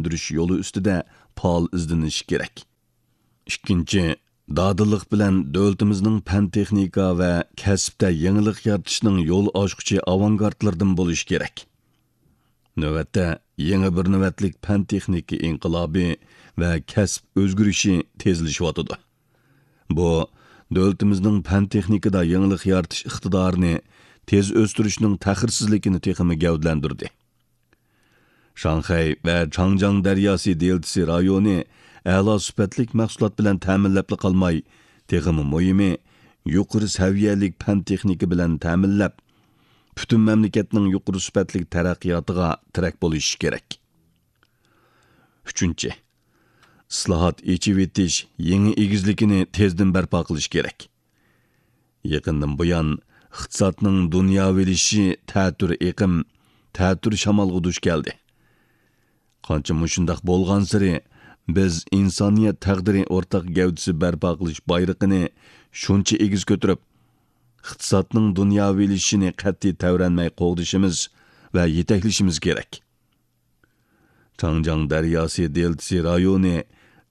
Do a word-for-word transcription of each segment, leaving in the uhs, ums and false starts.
ئىلگىرىلەندۈرۈش يولى ئۈستىدە پائال ئىزدىنىشى كېرەك. ئىككىنچى، دادىللىق بىلەن دۆلىتىمىزنىڭ پەن-تېخنىكا ۋە كەسىپتە يېڭىلىق يارىتىشنىڭ يول ئاچقۇچى ئاۋانگارتلىرىدىن بولۇشى كېرەك. نۆۋەتتە، يېڭى بىر نۆۋەتلىك پەن-تېخنىكا ئىنقىلابى ۋە كەسىپ ئۆزگىرىشى تېزلىشىۋاتىدۇ. بۇ، دۆلىتىمىزنىڭ پەن-تېخنىكىدا يېڭىلىق يارىتىش ئىقتىدارىنى تېز ئۆستۈرۈشنىڭ تەخىرسىزلىكىنى تېخىمۇ گەۋدىلەندۈردى. شاڭخەي ۋە چاڭجياڭ دەرياسى دېلتىسى رايونى ئەلا سۈپەتلىك مەھسۇلات بىلەن تەمىنلەپلا قالماي، تېخىمۇ مۇھىمى، يۇقىرى سەۋىيەلىك پەن-تېخنىكا بىلەن تەمىنلەپ، پۈتۈن مەملىكەتنىڭ يۇقىرى سۈپەتلىك تەرەققىياتىغا تىرەك بولۇشى كېرەك. ئۈچىنچى، ئىسلاھات، ئېچىۋېتىش يېڭى ئېگىزلىكىنى تېزدىن بەرپا قىلىش كېرەك. يېقىندىن بۇيان، ئىقتىسادنىڭ دۇنياۋىلىشىشى تەتۈر ئېقىم، تەتۈر شامالغا دۇچ كەلدى. قانچە مۇشۇنداق بولغانسېرى، بىز ئىنسانىيەت تەقدىرى ئورتاق گەۋدىسى بەرپا قىلىش بايرىقىنى شۇنچە ئېگىز كۆتۈرۈپ، ئىقتىسادنىڭ دۇنياۋىلىشىشىنى قەتئىي تەۋرەنمەي قوغدىشىمىز ۋە يېتەكلىشىمىز كېرەك. چاڭجياڭ دەرياسى دېلتىسى رايونى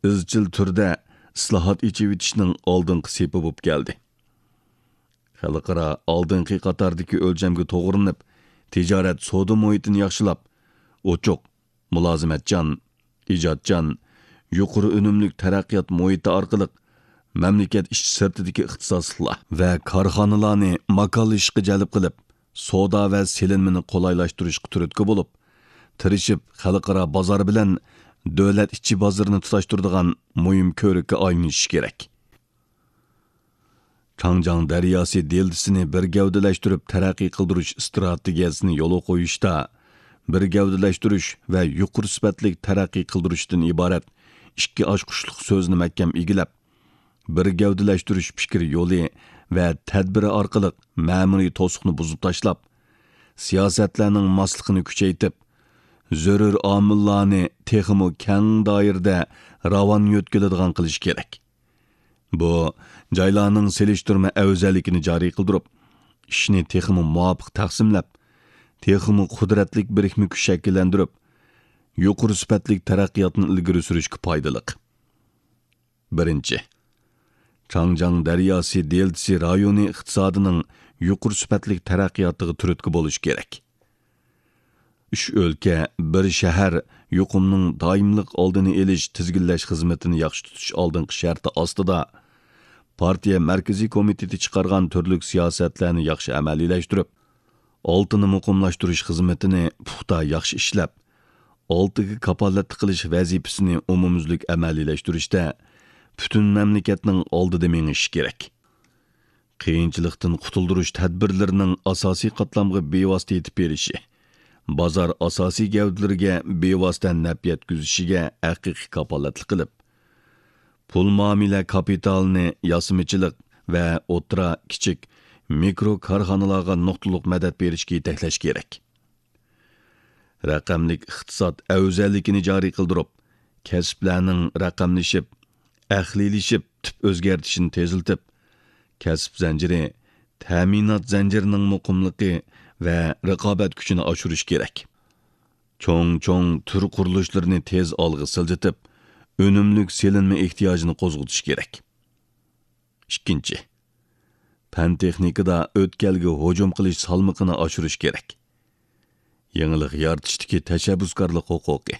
ئىزچىل تۈردە ئىسلاھات، ئېچىۋېتىشنىڭ ئالدىنقى سېپى بولۇپ كەلدى. خەلقئارا ئالدىنقى قاتاردىكى ئۆلچەمگە توغرىلىنىپ، تىجارەت، سودا مۇھىتىنى ياخشىلاپ، ئوچۇق، مۇلازىمەتچان، ئىجادچان، يۇقىرى ئۈنۈملۈك تەرەققىيات مۇھىتى ئارقىلىق مەملىكەت ئىچى سىرتىدىكى ئىختىساسلىقلار ۋە كارخانىلارنى ماكانلىشىشقا جەلپ قىلىپ، سودا ۋە سېلىنمىنى قولايلاشتۇرۇشقا تۈرتكە بولۇپ، تىرىشىپ خەلقئارا بازار بىلەن دۆلەت ئىچى بازىرىنى تۇتاشتۇرىدىغان مۇھىم كۆۋرۈككە ئايلىنىشى كېرەك. چاڭجياڭ دەرياسى دېلتىسىنى بىر گەۋدىلەشتۈرۈپ تەرەققىي قىلدۇرۇش ئىستراتېگىيەسىنى يولغا قويۇشتا، بىر گەۋدىلەشتۈرۈش ۋە يۇقىرى سۈپەتلىك تەرەققىي قىلدۇرۇشتىن ئىبارەت ئىككى ئاچقۇچلۇق سۆزنى مەھكەم ئىگىلەپ، بىر گەۋدىلەشتۈرۈش پىكىر يولى ۋە تەدبىرى ئارقىلىق مەمۇرىي توسۇقنى بۇزۇپ تاشلاپ، سىياسەتلەرنىڭ ماسلىقىنى كۈچەيتىپ، زۆرۈر ئامىللارنى تېخىمۇ كەڭ دائىرىدە راۋان يۆتكىلىدىغان قىلىش كېرەك. بۇ، جايلارنىڭ سېلىشتۇرما ئەۋزەللىكىنى جارى قىلدۇرۇپ، ئىشنى تېخىمۇ مۇۋاپىق تەقسىملەپ، تېخىمۇ قۇدرەتلىك بىرىكمە كۈچ شەكىللەندۈرۈپ، يۇقىرى سۈپەتلىك تەرەققىياتنى ئىلگىرى سۈرۈشكە پايدىلىق. بىرىنچى، چاڭجياڭ دەرياسى دېلتىسى رايونى ئىقتىسادىنىڭ يۇقىرى سۈپەتلىك تەرەققىياتىغا تۈرتكە بولۇش كېرەك. ئۈچ ئۆلكە، بىر شەھەر يۇقۇمنىڭ دائىملىق ئالدىنى ئېلىش، تىزگىنلەش خىزمىتىنى ياخشى تۇتۇش ئالدىنقى شەرتى ئاستىدا، پارتىيە مەركىزىي كومىتېتى چىقارغان تۈرلۈك سىياسەتلەرنى ياخشى ئەمەلىيلەشتۈرۈپ، ئالتىنى مۇقىملاشتۇرۇش خىزمىتىنى پۇختا ياخشى ئىشلەپ، ئالتىگە كاپالەتلىك قىلىش ۋەزىپىسىنى ئومۇميۈزلۈك ئەمەلىيلەشتۈرۈشتە پۈتۈن مەملىكەتنىڭ ئالدىدا مېڭىشى كېرەك. قىيىنچىلىقتىن قۇتۇلدۇرۇش تەدبىرلىرىنىڭ ئاساسىي قاتلامغا بىۋاسىتە يېتىپ بېرىشى، بازار ئاساسىي گەۋدىلىرىگە بىۋاسىتە نەپ يەتكۈزۈشىگە ھەقىقىي كاپالەتلىك قىلىپ، پۇل مۇئامىلە كاپىتالىنى ياسىمىچىلىق ۋە ئوتتۇرا، كىچىك، مىكرو كارخانىلارغا نۇقتىلىق مەدەت بېرىشكە يېتەكلەش كېرەك. رەقەملىك ئىقتىساد ئەۋزەللىكىنى جارى قىلدۇرۇپ، كەسىپلەرنىڭ رەقەملىشىپ، ئەقلىيلىشىپ، تۈپ ئۆزگەرتىشىنى تېزلىتىپ، كەسىپ زەنجىرى، تەمىنات زەنجىرىنىڭ مۇقىملىقى ۋە رىقابەت كۈچىنى ئاشۇرۇش كېرەك. چوڭ-چوڭ تۈر قۇرۇلۇشلىرىنى تېز ئالغا سىلجىتىپ، ئۈنۈملۈك سېلىنما ئېھتىياجىنى قوزغىتىش كېرەك. ئىككىنچى، پەن-تېخنىكىدا ئۆتكەلگە ھۇجۇم قىلىش سالمىقىنى ئاشۇرۇش كېرەك. يېڭىلىق يارىتىشتىكى تەشەببۇسكارلىق ھوقۇقى،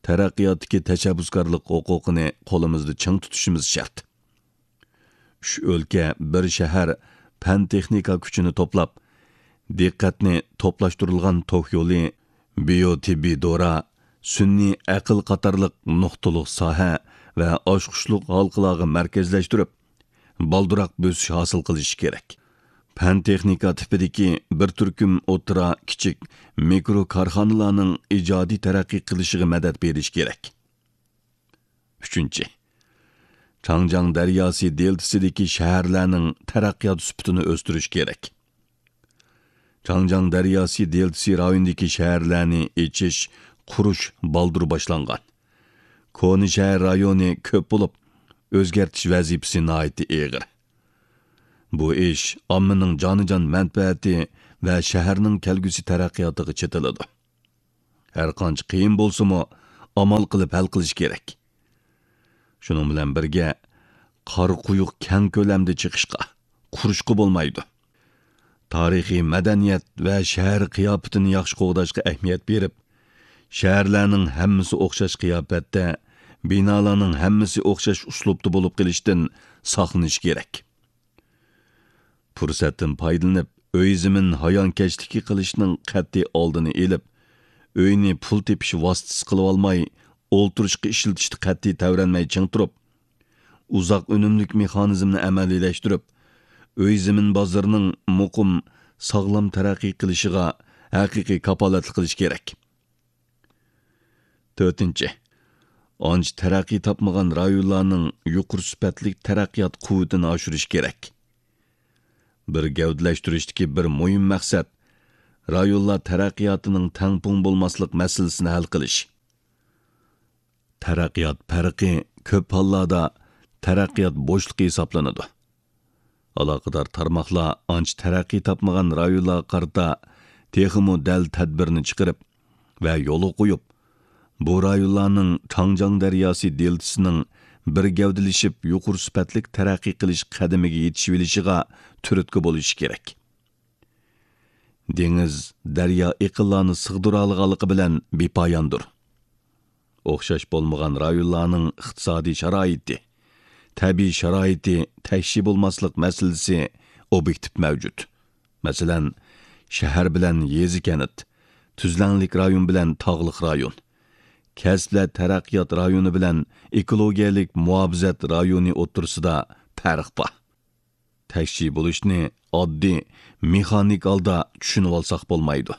تەرەققىياتتىكى تەشەببۇسكارلىق ھوقۇقىنى قولىمىزدا چىڭ تۇتۇشىمىز شەرت. ئۈچ ئۆلكە، بىر شەھەر پەن-تېخنىكا كۈچىنى توپلاپ، دىققەتنى توپلاشتۇرۇلغان توك يولى، بىيو تېببىي دورا، سۈنئىي ئەقىل قاتارلىق نۇقتىلىق ساھە ۋە ئاچقۇچلۇق ھالقىلارغا مەركەزلەشتۈرۈپ، بالدۇراق بۆسۈش ھاسىل قىلىشى كېرەك. پەن-تېخنىكا تىپىدىكى بىر تۈركۈم ئوتتۇرا، كىچىك، مىكرو كارخانىلارنىڭ ئىجادىي تەرەققىي قىلىشىغا مەدەت بېرىش كېرەك. ئۈچىنچى، چاڭجياڭ دەرياسى دېلتىسىدىكى شەھەرلەرنىڭ تەرەققىيات سۈپىتىنى ئۆستۈرۈش كېرەك. چاڭجياڭ دەرياسى دېلتىسى رايونىدىكى شەھەرلەرنى ئېچىش، قۇرۇش بالدۇر باشلانغان. كونا شەھەر رايونى كۆپ بولۇپ، ئۆزگەرتىش ۋەزىپىسى ناھايىتى ئېغىر. بۇ ئىش ئاممىنىڭ جانىجان مەنپەئەتى ۋە شەھەرنىڭ كەلگۈسى تەرەققىياتىغا چېتىلىدۇ. ھەرقانچە قىيىن بولسىمۇ، ئامال قىلىپ ھەل قىلىش كېرەك. شۇنىڭ بىلەن بىرگە، قارا قويۇق كەڭ كۆلەمدە چېقىشقا، قۇرۇشقا بولمايدۇ. تارىخىي مەدەنىيەت ۋە شەھەر قىياپىتىنى ياخشى قوغداشقا ئەھمىيەت بېرىپ، شەھەرلەرنىڭ ھەممىسى ئوخشاش قىياپەتتە، بىنالارنىڭ ھەممىسى ئوخشاش ئۇسلۇبتا بولۇپ قېلىشتىن ساقلىنىش كېرەك. پۇرسەتتىن پايدىلىنىپ، ئۆي زېمىن ھايانكەشلىكى قىلىشنىڭ قەتئىي ئالدىنى ئېلىپ، ئۆينى پۇل تېپىش ۋاسىتىسى قىلىۋالماي، ئولتۇرۇشقا ئىشلىتىشتە قەتئىي تەۋرەنمەي چىڭ تۇرۇپ، ئۇزاق ئۈنۈملۈك مېخانىزمنى ئەمەلىيلەشتۈرۈپ، ئۆي زېمىن بازىرىنىڭ مۇقىم، ساغلام تەرەققىي قىلىشىغا ھەقىقىي كاپالەتلىك قىلىش كېرەك. تۆتىنچى، ئانچە تەرەققىي تاپمىغان رايونلارنىڭ يۇقىرى سۈپەتلىك تەرەققىيات قۇۋۋىتىنى ئاشۇرۇش كېرەك. بىر گەۋدىلەشتۈرۈشتىكى بىر مۇھىم مەقسەت، رايونلار تەرەققىياتىنىڭ تەڭپۇڭ بولماسلىق مەسىلىسىنى ھەل قىلىش. تەرەققىيات پەرقى كۆپ ھاللاردا تەرەققىيات بوشلۇقى ھېسابلىنىدۇ. ئالاقىدار تارماقلار ئانچە تەرەققىي تاپمىغان رايونلارغا قارىتا تېخىمۇ دەل تەدبىرنى چىقىرىپ ۋە يولغا قويۇپ، بۇ رايونلارنىڭ چاڭجياڭ دەرياسى دېلتىسىنىڭ بىر گەۋدىلىشىپ يۇقىرى سۈپەتلىك تەرەققىي قىلىش قەدىمىگە يېتىشىۋېلىشىغا تۈرتكە بولۇشى كېرەك. دېڭىز، دەريا ئېقىنلارنى سىغدۇرالىغانلىقى بىلەن بىپاياندۇر. ئوخشاش بولمىغان رايونلارنىڭ ئىقتىسادىي شارائىتى، تەبىئىي شارائىتى تەكشى بولماسلىق مەسىلىسى ئوبيېكتىپ مەۋجۇت. مەسىلەن، شەھەر بىلەن يېزا كەنت، تۈزلەڭلىك رايون بىلەن تاغلىق رايون، كەسىپلەر تەرەققىيات رايونى بىلەن ئېكولوگىيەلىك مۇھاپىزەت رايونى ئوتتۇرىسىدا پەرق بار. تەكشى بولۇشنى ئاددىي، مېخانىك ھالدا چۈشىنىۋالساق بولمايدۇ.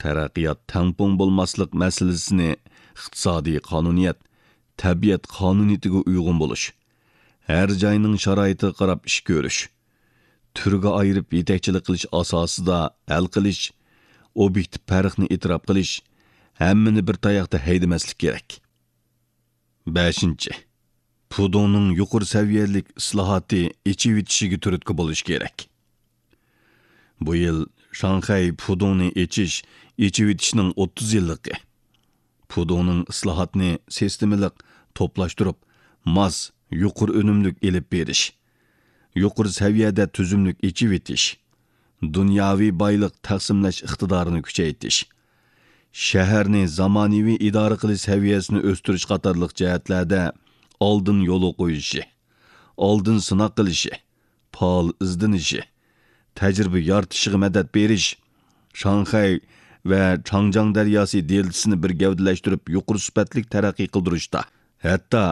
تەرەققىيات تەڭپۇڭ بولماسلىق مەسىلىسىنى ئىقتىسادىي قانۇنىيەت، تەبىئەت قانۇنىيىتىگە ئۇيغۇن بولۇش، ھەر جاينىڭ شارائىتىغا قاراپ ئىش كۆرۈش، تۈرگە ئايرىپ يېتەكچىلىك قىلىش ئاساسىدا ھەل قىلىش، ئوبيېكتىپ پەرقنى ئېتىراپ قىلىش، ھەممىنى بىر تاياقتا ھەيدىمەسلىك كېرەك. بەشىنچى، پۇدۇڭنىڭ يۇقىرى سەۋىيەلىك ئىسلاھاتى ئېچىۋېتىشىگە تۈرتكە بولۇش كېرەك. بۇ يىل شاڭخەي پۇدۇڭنى ئېچىش، ئېچىۋېتىشنىڭ ئوتتۇز يىللىقى. پۇدۇڭنىڭ ئىسلاھاتنى سىستېمىلىق توپلاشتۇرۇپ، ماس، يۇقىرى ئۈنۈملۈك ئېلىپ بېرىش، يۇقىرى سەۋىيەدە تۈزۈملۈك ئېچىۋېتىش، دۇنياۋى بايلىق تەقسىملەش ئىقتىدارىنى كۈچەيتىش، شەھەرنى زامانىۋى ئىدارە قىلىش سەۋىيەسىنى ئۆستۈرۈش قاتارلىق جەھەتلەردە ئالدىن يولغا قويۇشى، ئالدىن سىناق قىلىشى، پائال ئىزدىنىشى، تەجرىبە يارىتىشىغا مەدەت بېرىش، شاڭخەي ۋە چاڭجياڭ دەرياسى دېلتىسىنى بىر گەۋدىلەشتۈرۈپ يۇقىرى سۈپەتلىك تەرەققىي قىلدۇرۇشتا، ھەتتا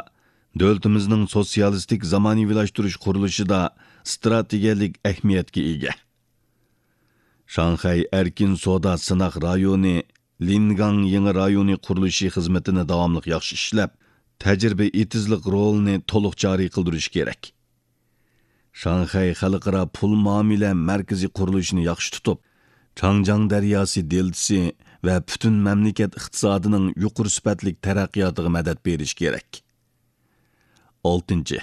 دۆلىتىمىزنىڭ سوتسىيالىستىك زامانىۋىلاشتۇرۇش قۇرۇلۇشىدا ئىستراتېگىيەلىك ئەھمىيەتكە ئىگە. شاڭخەي ئەركىن سودا سىناق رايونى، لىنگاڭ يېڭى رايونى قۇرۇلۇشى خىزمىتىنى داۋاملىق ياخشى ئىشلەپ، تەجرىبە ئېتىزلىق رولىنى تولۇق جارى قىلدۇرۇش كېرەك. شاڭخەي خەلقئارا پۇل مۇئامىلە مەركىزى قۇرۇلۇشىنى ياخشى تۇتۇپ، چاڭجياڭ دەرياسى دېلتىسى ۋە پۈتۈن مەملىكەت ئىقتىسادىنىڭ يۇقىرى سۈپەتلىك تەرەققىياتىغا مەدەت بېرىش كېرەك. ئالتىنچى،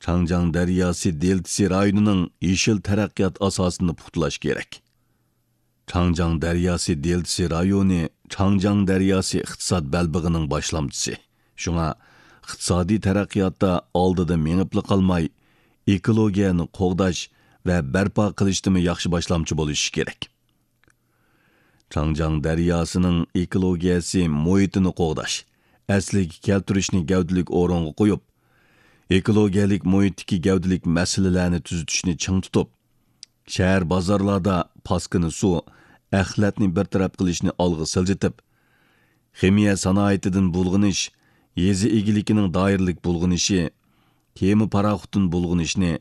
چاڭجياڭ دەرياسى دېلتىسى رايونىنىڭ يېشىل تەرەققىيات ئاساسىنى پۇختىلاش كېرەك. چاڭجياڭ دەرياسى دېلتىسى رايونى چاڭجياڭ دەرياسى ئىقتىساد بەلبېغىنىڭ باشلامچىسى. شۇڭا ئىقتىسادىي تەرەققىياتتا ئالدىدا مېڭىپلا قالماي، ئېكولوگىيەنى قوغداش ۋە بەرپا قىلىشتىمۇ ياخشى باشلامچى بولۇشى كېرەك. چاڭجياڭ دەرياسىنىڭ ئېكولوگىيەسى مۇھىتىنى قوغداش، ئەسلىگە كەلتۈرۈشنى گەۋدىلىك ئورۇنغا قويۇپ، ئېكولوگىيەلىك مۇھىتتىكى گەۋدىلىك مەسىلىلەرنى تۈزىتىشنى چىڭ تۇتۇپ، شەھەر بازارلاردا پاسكىنا سۇ، ئەخلەتنى بىر تەرەپ قىلىشنى ئالغا سىلجىتىپ، خىمىيە سانائىتىدىن بۇلغىنىش، يېزا ئىگىلىكىنىڭ دائىرىلىك بۇلغىنىشى، كېمە پاراخوتتىن بۇلغىنىشنى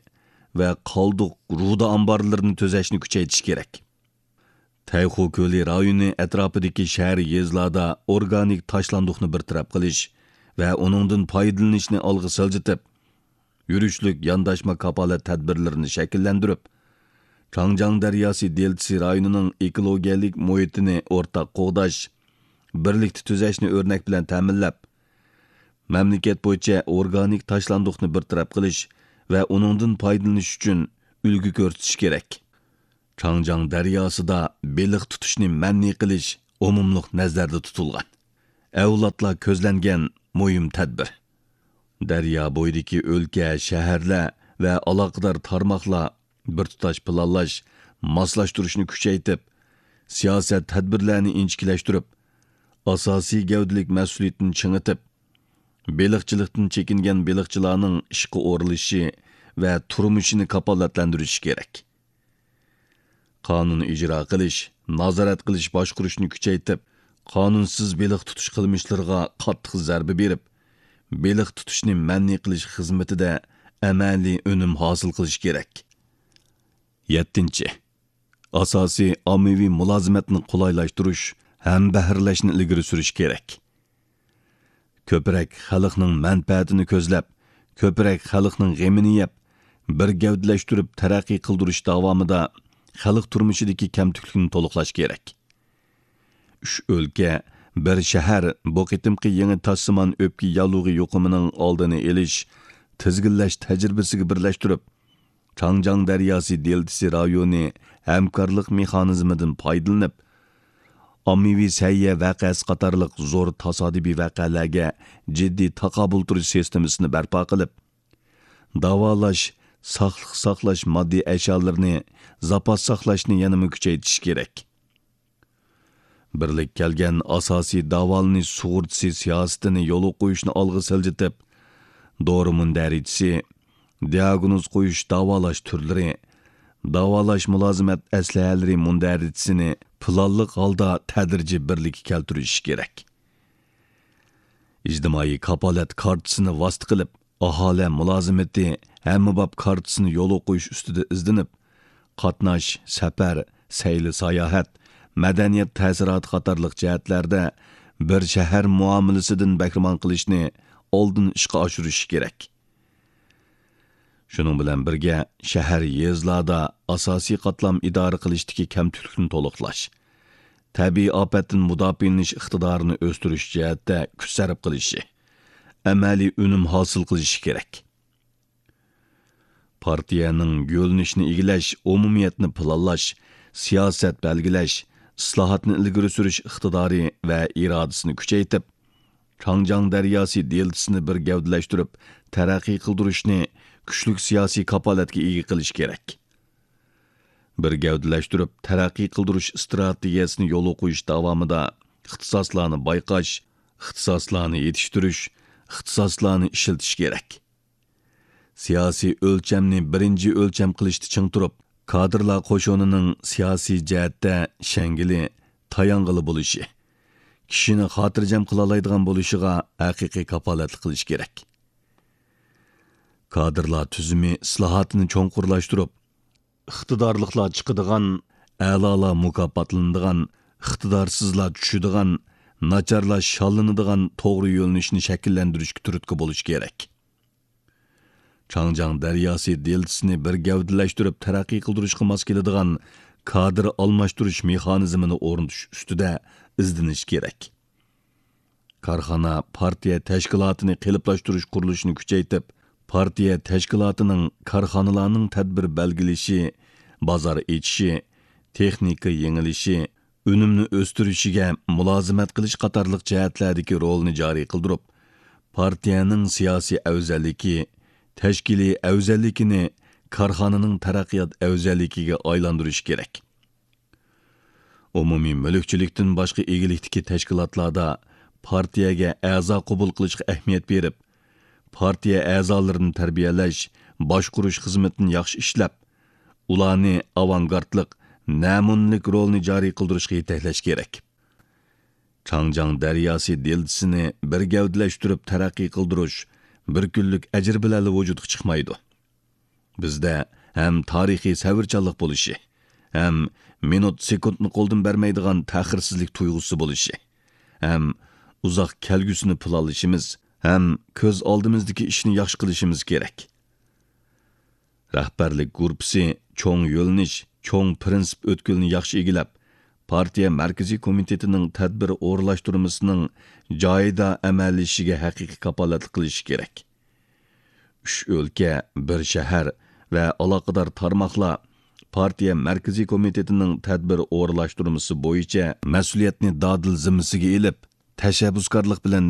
ۋە قالدۇق رۇدا ئامبارلىرىنى تۈزەشنى كۈچەيتىش كېرەك. تەيخۇ كۆلى رايونى ئەتراپىدىكى شەھەر، يېزىلاردا ئورگانىك تاشلاندۇقنى بىر تەرەپ قىلىش ۋە ئۇنىڭدىن پايدىلىنىشنى ئالغا سىلجىتىپ، يۈرۈشلۈك يانداشما كاپالەت تەدبىرلىرىنى شەكىللەندۈرۈپ، چاڭجياڭ دەرياسى دېلتىسى رايونىنىڭ ئېكولوگىيەلىك مۇھىتىنى ئورتاق قوغداش، بىرلىكتە تۈزەشنى ئۆرنەك بىلەن تەمىنلەپ، مەملىكەت بويىچە ئورگانىك تاشلاندۇقنى بىر تەرەپ قىلىش ۋە ئۇنىڭدىن پايدىلىنىش ئۈچۈن ئۈلگە كۆرسىتىش كېرەك. چاڭجياڭ دەرياسىدا بېلىق تۇتۇشنى مەنئى قىلىش ئومۇملۇق نەزەردە تۇتۇلغان. ئەۋلادلار كۆزلەنگەن مۇھىم تەدبىر. دەريا بويىدىكى ئۆلكە، شەھەرلەر ۋە ئالاقىدار تارماقلار بىر تۇتاش پىلانلاش، ماسلاشتۇرۇشنى كۈچەيتىپ، سىياسەت تەدبىرلەرنى ئىنچىكىلەشتۈرۈپ، ئاساسىي گەۋدىلىك مەسئۇلىيىتىنى چىڭىتىپ، بېلىقچىلىقتىن چېكىنگەن بېلىقچىلارنىڭ ئىشقا ئورۇنلىشىشى ۋە تۇرمۇشىنى كاپالەتلەندۈرۈشى كېرەك. قانۇن ئىجرا قىلىش، نازارەت قىلىش باشقۇرۇشنى كۈچەيتىپ، قانۇنسىز بېلىق تۇتۇش قىلمىشلىرىغا قاتتىق زەربە بېرىپ، بېلىق تۇتۇشنى مەنئى قىلىش خىزمىتىدە ئەمەلىي ئۈنۈم ھاسىل قىلىش كېرەك. يەتتىنچى، ئاساسىي ئاممىۋى مۇلازىمەتنى قولايلاشتۇرۇش، ھەمبەھىرلەشنى ئىلگىرى سۈرۈش كېرەك. كۆپرەك خەلقنىڭ مەنپەئەتىنى كۆزلەپ، كۆپرەك خەلقنىڭ غېمىنى يەپ، بىر گەۋدىلەشتۈرۈپ تەرەققىي قىلدۇرۇش داۋامىدا خەلق تۇرمۇشىدىكى كەمتۈكلۈكنى تولۇقلاش كېرەك. ئۈچ ئۆلكە، بىر شەھەر بۇ قېتىمقى يېڭى تاشسىمان ئۆپكە ياللۇغى يۇقۇمىنىڭ ئالدىنى ئېلىش، تىزگىنلەش تەجرىبىسىگە بىرلەشتۈرۈپ، چاڭجياڭ دەرياسى دېلتىسى رايونى ھەمكارلىق مېخانىزمىدىن پايدىلىنىپ، ئاممىۋى سەھىيە ۋەقەسى قاتارلىق زور تاسادىپىي ۋەقەلەرگە جىددىي تاقابىل تۇرۇش سىستېمىسىنى بەرپا قىلىپ، داۋالاش، ساقلىق ساقلاش ماددىي ئەشيالىرىنى زاپاس ساقلاشنى يەنىمۇ كۈچەيتىش كېرەك. بىرلىككە كەلگەن ئاساسىي داۋالىنىش سۇغۇرتىسى سىياسىتىنى يولغا قويۇشنى ئالغا سىلجىتىپ، دورا مۇندەرىجىسى، دىئاگنوز قويۇش داۋالاش تۈرلىرى، داۋالاش مۇلازىمەت ئەسلىھەلىرى مۇندەرىجىسىنى پىلانلىق ھالدا تەدرىجىي بىرلىككە كەلتۈرۈش كېرەك. ئىجتىمائىي كاپالەت كارتىسىنى ۋاسىتە قىلىپ، ئاھالە مۇلازىمىتى ھەممىباب كارتىسىنى يولغا قويۇش ئۈستىدە ئىزدىنىپ، قاتناش، سەپەر، سەيلە-ساياھەت، مەدەنىيەت تەسىراتى قاتارلىق جەھەتلەردە بىر شەھەر مۇئامىلىسىدىن بەھرىمەن قىلىشنى ئالدىن ئىشقا ئاشۇرۇش كېرەك. شۇنىڭ بىلەن بىرگە، شەھەر، يېزىلاردا ئاساسىي قاتلام ئىدارە قىلىشتىكى كەمتۈكلۈكنى تولۇقلاش، تەبىئىي ئاپەتتىن مۇداپىئەلىنىش ئىقتىدارىنى ئۆستۈرۈش جەھەتتە كۈچ سەرپ قىلىشى، ئەمەلىي ئۈنۈم ھاسىل قىلىشى كېرەك. پارتىيەنىڭ يۆنىلىشنى ئىگىلەش، ئومۇمىيەتنى پىلانلاش، سىياسەت بەلگىلەش، ئىسلاھاتنى ئىلگىرى سۈرۈش ئىقتىدارى ۋە ئىرادىسىنى كۈچەيتىپ، چاڭجياڭ دەرياسى دېلتىسىنى بىر گەۋدىلەشتۈرۈپ تەرەققىي قىلدۇرۇشنى كۈچلۈك سىياسىي كاپالەتكە ئىگە قىلىش كېرەك. بىر گەۋدىلەشتۈرۈپ تەرەققىي قىلدۇرۇش ئىستراتېگىيەسىنى يولغا قويۇش داۋامىدا ئىختىساسلارنى بايقاش، ئىختىساسلارنى يېتىشتۈرۈش، ئىختىساسلارنى ئىشلىتىش كېرەك. سىياسىي ئۆلچەمنى بىرىنچى ئۆلچەم قىلىشتا چىڭ تۇرۇپ، كادىرلار قوشۇنىنىڭ سىياسىي جەھەتتە شەڭگىلى، تايانغىلى بولۇشى، كىشىنى خاتىرجەم قىلالايدىغان بولۇشىغا ھەقىقىي كاپالەتلىك قىلىش كېرەك. كادىرلار تۈزۈمى ئىسلاھاتىنى چوڭقۇرلاشتۇرۇپ، ئىقتىدارلىقلار چىقىدىغان، ئەلالار مۇكاپاتلىنىدىغان، ئىقتىدارسىزلار چۈشىدىغان، ناچارلار شاللىنىدىغان توغرا يۆنىلىشنى شەكىللەندۈرۈشكە تۈرتكە بولۇش كېرەك. چاڭجياڭ دەرياسى دېلتىسىنى بىر گەۋدىلەشتۈرۈپ تەرەققىي قىلدۇرۇشقا ماس كېلىدىغان كادىر ئالماشتۇرۇش مېخانىزمىنى ئورنىتىش ئۈستىدە ئىزدىنىش كېرەك. كارخانا، پارتىيە تەشكىلاتىنى قېلىپلاشتۇرۇش قۇرۇلۇشىنى كۈچەيتىپ، پارتىيە تەشكىلاتىنىڭ كارخانىلارنىڭ تەدبىر بەلگىلىشى، بازار ئېچىشى، تېخنىكا يېڭىلىشى، ئۈنۈمنى ئۆستۈرۈشىگە مۇلازىمەت قىلىش قاتارلىق جەھەتلەردىكى رولىنى جارى قىلدۇرۇپ، پارتىيەنىڭ سىياسىي ئەۋزەللىكى، تەشكىلىي ئەۋزەللىكىنى كارخانىنىڭ تەرەققىيات ئەۋزەللىكىگە ئايلاندۇرۇش كېرەك. ئومۇمىي مۈلۈكچىلىكتىن باشقا ئىگىلىكتىكى تەشكىلاتلاردا پارتىيەگە ئەزا قوبۇل قىلىشقا ئەھمىيەت بېرىپ، پارتىيە ئەزالىرىنى تەربىيەلەش، باشقۇرۇش خىزمىتىنى ياخشى ئىشلەپ، ئۇلارنى ئاۋانگارتلىق، نەمۇنىلىك رولنى جارى قىلدۇرۇشقا يېتەكلەش كېرەك. چاڭجياڭ دەرياسى دېلتىسىنى بىر گەۋدىلەشتۈرۈپ تەرەققىي قىلدۇرۇش بىر كۈنلۈك ئەجىر بىلەنلا ۋۇجۇدقا چىقمايدۇ. بىزدە ھەم تارىخىي سەۋرچانلىق بولۇشى، ھەم مىنۇت سېكۇنتنى قولدىن بەرمەيدىغان تەخىرسىزلىك تۇيغۇسى بولۇشى، ھەم ئۇزاق كەلگۈسىنى پىلانلىشىمىز، ھەم كۆز ئالدىمىزدىكى ئىشنى ياخشى قىلىشىمىز كېرەك. رەھبەرلىك گۇرۇپپىسى چوڭ يۆنىلىش، چوڭ پىرىنسىپ ئۆتكىلىنى ياخشى ئىگىلەپ، پارتىيە مەركىزىي كومىتېتىنىڭ تەدبىر ئورۇنلاشتۇرمىسىنىڭ جايىدا ئەمەلىيلىشىشىگە ھەقىقىي كاپالەتلىك قىلىشى كېرەك. ئۈچ ئۆلكە، بىر شەھەر ۋە ئالاقىدار تارماقلار پارتىيە مەركىزىي كومىتېتىنىڭ تەدبىر ئورۇنلاشتۇرمىسى بويىچە مەسئۇلىيەتنى دادىل زىممىسىگە ئېلىپ، تەشەببۇسكارلىق بىلەن